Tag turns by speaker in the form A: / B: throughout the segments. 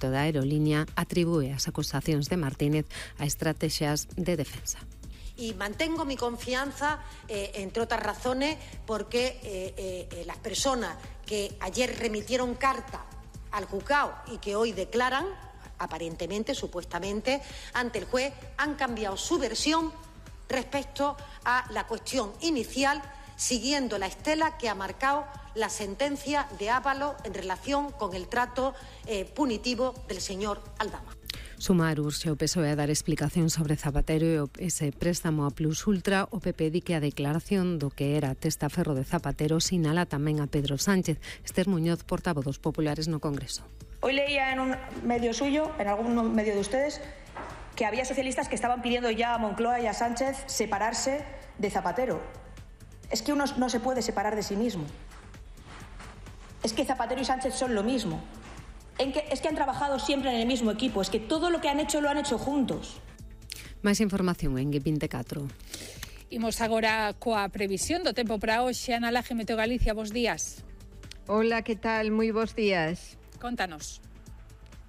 A: piloto da aerolínea atribúe as acusacións de Martínez a estrategias de defensa.
B: Y mantengo mi confianza, entre otras razones, porque las personas que ayer remitieron carta al juzgado y que hoy declaran, aparentemente, supuestamente, ante el juez, han cambiado su versión respecto a la cuestión inicial, siguiendo la estela que ha marcado la sentencia de Ábalos en relación con el trato punitivo del señor Aldama.
A: Sumar urxe o PSOE a dar explicación sobre Zapatero e ese préstamo a Plus Ultra. O PP di que a declaración do que era testaferro de Zapatero sinala tamén a Pedro Sánchez. Esther Muñoz, portavoz dos populares no Congreso.
C: Hoy leía en un medio suyo, en algún medio de ustedes, que había socialistas que estaban pidiendo ya a Moncloa y a Sánchez separarse de Zapatero. Es que uno no se puede separar de sí mismo. Es que Zapatero y Sánchez son lo mismo. Es que han trabajado siempre en el mismo equipo. Es que todo lo que han hecho lo han hecho juntos.
A: Máis información en G24.
D: Imos agora coa previsión do tempo para hoxe. Ana Laje, Meteo Galicia, bos días.
E: Hola, que tal? Moi bos días.
D: Contanos.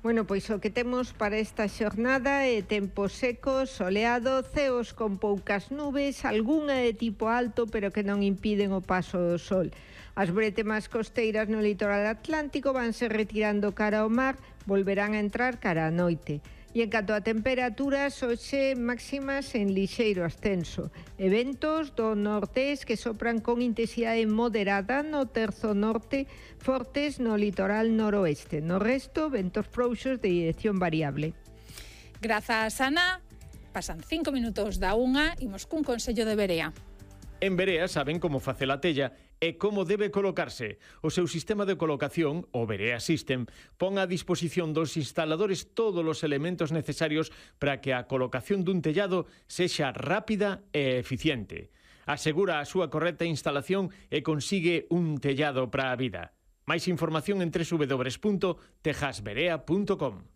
E: Bueno, pois o que temos para esta xornada é tempo seco, soleado, ceos con poucas nubes, algunha de tipo alto, pero que non impiden o paso do sol. As bretemas costeiras no litoral atlántico vanse retirando cara ao mar, volverán a entrar cara á noite. E en canto a temperaturas, hoxe máximas en lixeiro ascenso. Eventos do nortés que sopran con intensidade moderada no terzo norte, fortes no litoral noroeste. No resto, ventos frouxos de dirección variable.
D: Grazas, Ana. Pasan 5 minutos da 1, imos cun consello de Berea.
F: En Berea saben como facer a tella e como debe colocarse. O seu sistema de colocación, o Berea System, pon a disposición dos instaladores todos os elementos necesarios para que a colocación dun tellado sexa rápida e eficiente. Asegura a súa correcta instalación e consigue un tellado para a vida. Máis información en www.tejasberea.com.